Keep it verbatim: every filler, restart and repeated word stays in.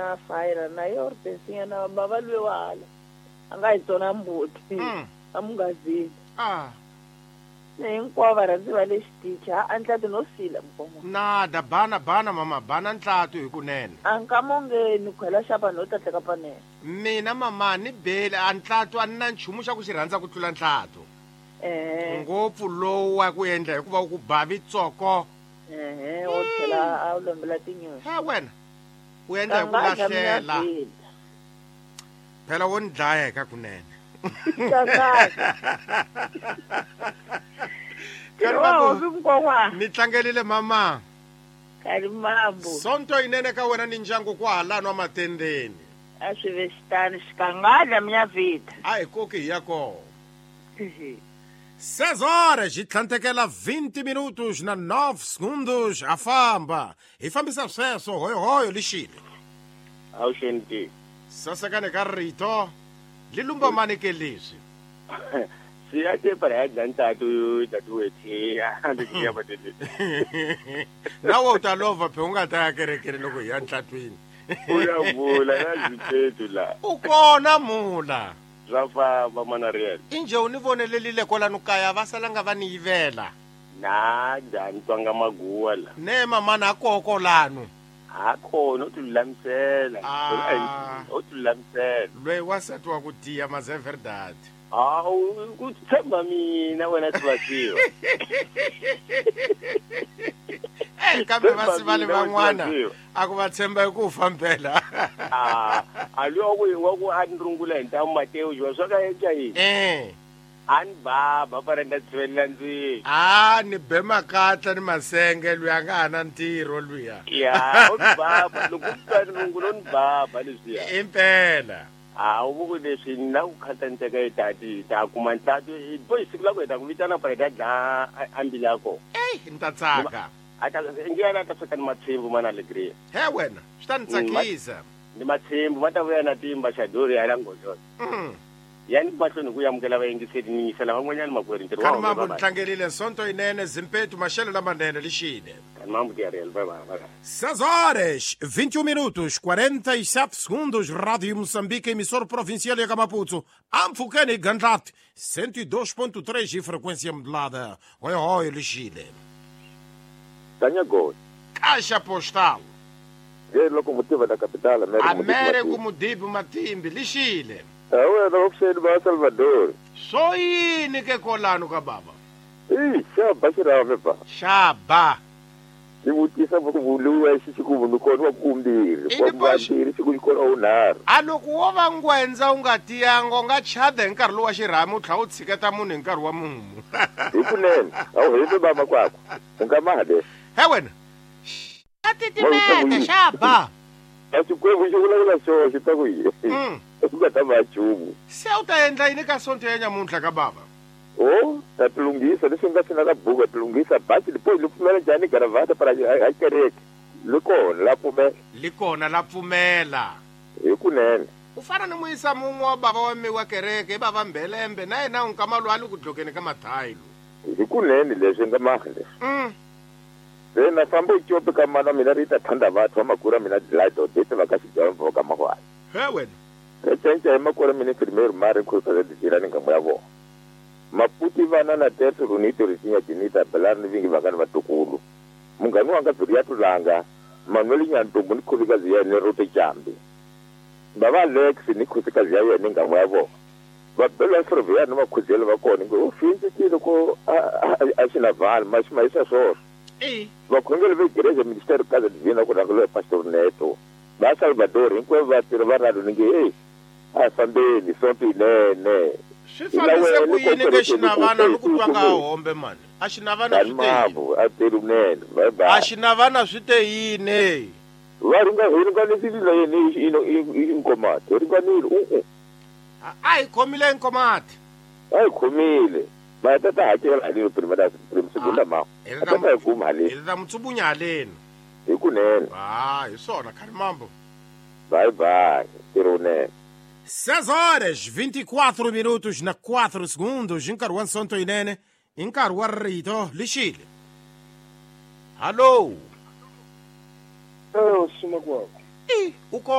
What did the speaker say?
na fire na yo ri na baba lwe wala. A nga hi tsona mbuti. A mungazini. Ah. Ne hinkwavo varhandzi va le xitichi a ntlati no sila mukoma. Nada bana bana mama bana ntlatu hi kunene. A nka ni khwela xapa no tatleka panene. Mina mama ni bele a ntlatu a ni na nchumu xa ku xi rhandza ku tlula ntlatu. Eh. Ngopfu lowu wa ku endla hikuva u ku bavi tsoko. Eh, o tlhela a wu lombela tinyoxi. He wena. U endla hi ku lahlela. Phela wo ni dlaya ka kunene. Ni tlangelile mama. Kalimambo. Sonto inene ka wena ni ndyangu ku halano matendeni. A swi ve xitani xikangadla minyavita. A hi koki hi ya kona. Seis horas e tlhantekela vinte minutos na nove segundos a famba. Hi fambisa sweswo hoyohoyo lixile. Awuxeni. Sasekane ka rito. Lilumba mani ke leswi. Siyate para ya dlantatu tatuwethi a batete. Nawe u ta lova phe u nga ta ya kerekeni loko hi ya ntlatwini. U ya vula na zitetu la. U kona mula. Swa famba mana real. Inje u ni vonelelile kwalano kaya va salanga va ni yivela. Na dani twanga maguwa la. Ne mama na koko lano. A khona u tilulamisela. U tilulamisela. Loyi wansati wa ku tiya mas é verdade. Ah, ku tshemba mina wena Sibasiwa. Eh, kambe va sivale van'wana a ku va tshemba hi ku fambela. Ah, a luya ku wa ku a ni rungula hi ntamu Mateo jiwa swa ka yeka yini. Eh. A ni baba para nda tsvelela ndzeni. Ah, ni be makatla ni masenge luya nga ha na ntirho luya. Ya, u ni baba loko u twa ni rungula ni baba leswiya. Impela. Ah, u ku leswi na ku khatanteka hi tati ta kuma ntlatu bo hi siku la ku heta ku vitana para ta dla ambili ya kona. Ey, ni ta tsaka. A ta ngi ta sweka ni matshimbu mana alegria. He wena, swi ta ni tsakisa. Ni matshimbu va ta vuya na timba xadori ya la ngozolo. Mm. Yani mahlweni ku amukela vayingiseri ni yingisela van'wanyana makwerhu ntirho wa Mambo ni tlangelile sonto yinene zimpetu maxelo lamanene lixile. Mambo ke real bye bye. Seis horas, vinte e um minutos, quarenta e sete segundos, Rádio Moçambique, emissor provincial ya Maputo. Ampfukeni Gandlat, cento e dois ponto três de frequência modulada. Oi, oi, lixile. Tanyago. Caixa postal. E locomotiva da capital, Américo, Américo Mudibo Matimbi, lixile. Awe na option ba Salvador. So yini ke kolano ka baba? Eh, xaba xirave ba. Xaba. Ni vutisa ku vuluwa xi ku vulu kona wa kumbirhi, wa kumbirhi xi ku kona unharhu. A loko wo va ngwendza u nga tiyanga u nga chada hi nkarhi lowu wa xirhami u tlhela u tshiketa munhu hi nkarhi wa mumu. Hi kunene, a wu heti baba kwakho. U nga male. He wena. A titimeta xaba. A xikwembu xi vulavula xona xi ta ku yini? U nga ta va nchumu. Se u ta endla yini ka sonto ya nyamuntlha ka baba? Oh, ta tilunghisa leswi nga swi na ka buku tilunghisa bachi lipo li pfumela njhani garavata para a kereke. Li kona la pfumela. Li kona la pfumela. Hi kunene. U fana ni muyisa mun'we wa baba wa mi wa kereke baba Mbelembe na yena u nkama lwa li ku dlokeni ka mathayilo. Hi kunene leswi nga mahle leswi. Mm. Se na famba u ka mana mina ri ta thanda vathu va makura mina delight odete va ka xidyambo ka mahwani. He wena. Re cenca hi makura mina primeiro mari ku ka dira ni ngamu ya vona. Maputi vana na teto runito ritinya tinita belani vingi vakani vatukulu. Mungani wanga biriya tulanga Manuel Nyantombo ni khosikazi ya yena Rote Jambi. Baba Alex ni khosikazi ya yena ngamu ya vona. Va bela ferroviário ni makhuzelo va kona ngo u finzekile ko a xi na vhali ma xi ma yisa swona. Eh. Vakhongeri va igreja Ministério Casa Divina ku rhangeriwa hi Pastor Neto. Va Salvador hinkwavo vatirhi va radio ni nge hey a fambeni sonto yinene. Swi fambise ku yini ke xinavana ni ku twa nga hombe mani? A xinavana swi te yini? A teri kunene. Bye bye. A xinavana swi te yini? Va ringa hi ringanisile na yena i Nkomati. Hi ringanile u u. A hi khomile Nkomati. A hi khomile. Va ta ta hakela haleni primera prim segunda ma. Hi ta ta kuma haleni. Hi ta mutsubunya haleni. Hi kunene. Ah, hi swona Khalimambo. Bye bye. Ntirho wunene. Seis horas, vinte e quatro minutos na quatro segundos. Nkarhi wa sonto yinene, i nkarhi wa rito lixile. Hallo. Hello, Simakwako. I, u kona.